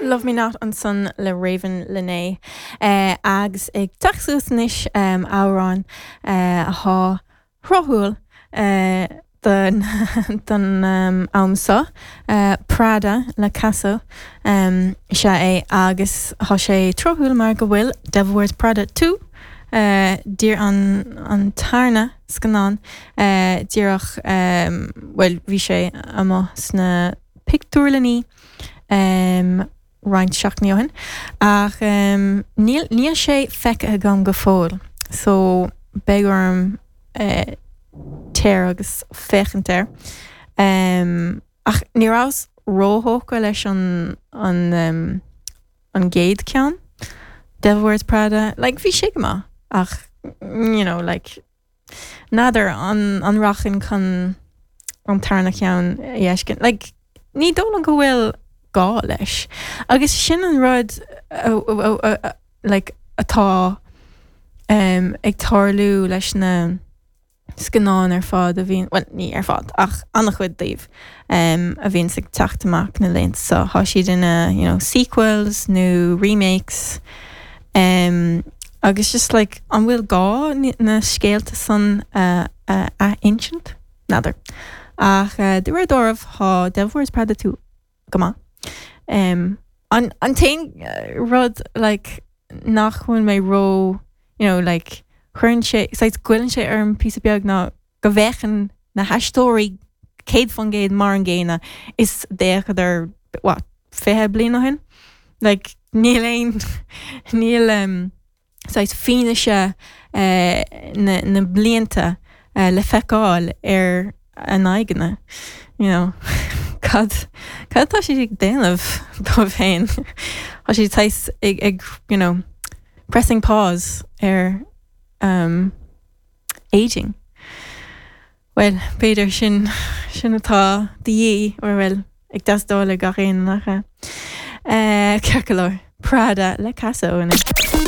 Love Me Not ansan le Ravyn Lenae agus ag teacht suas anois amhrán athá thráthúil don am seo, Prada le Casso is ea é agus thá sé tráthúil mar go bhfuil Devil Wears Prada 2 dír an tarna scannán díreach bhuel bhí sé amuigh sna pictiúrlannaí roinnt seachtainí ó shin ach níl níl sé feicthe agam go fóill so beidh orm téir agus féachaint air. Ach ní rabhas róthógtha leis an an an gcéad ceann, Devil Wears Prada, like bhí sé go maith ach you know like N'fheadar an an rachainn chun an tarna ceann a fheiscint. Like, ní dóigh liom go bhfuil gá leis. Agus sin an rud like, atá um, ag tarlú leis na scannáin ar fad a bhíonn, well, ní ar fad, ach an-chuid díobh um, a bhíonns ag teacht amach na laethanta seo. Tá siad ina, you know, sequels nó remakes. Um, agus just like, an bhfuil gá na scéalta san a ath-insint? N'fheadar. Ach uh, de réir dealraimh tá Devil Wears Prada 2 go maith. Um, an, an t-aon rud like, nach bhfuil mé ró, you know, like, cuireann sé, saghas goilleann sé orm píosa beag ná go bhféachann na haisteoirí 100% mar an gcéanna is d'fhéachadar, what, 20 bliain ó shin? Like, níl aon, níl um, saghas fianaise uh, na, na blianta uh, le feiceáil ar a n-aghaidheanna, you know. Cad, cad atá siad ag déanamh dóibh féin? Tá siad saghas ag, ag, you know, pressing pause ar um, aging. Bhuel, b'fhéidir sin, sin atá de dhíth, or bhuel, ag teastáil ag gach aon, nach ea? Ceart go leor, Prada le Casso anois.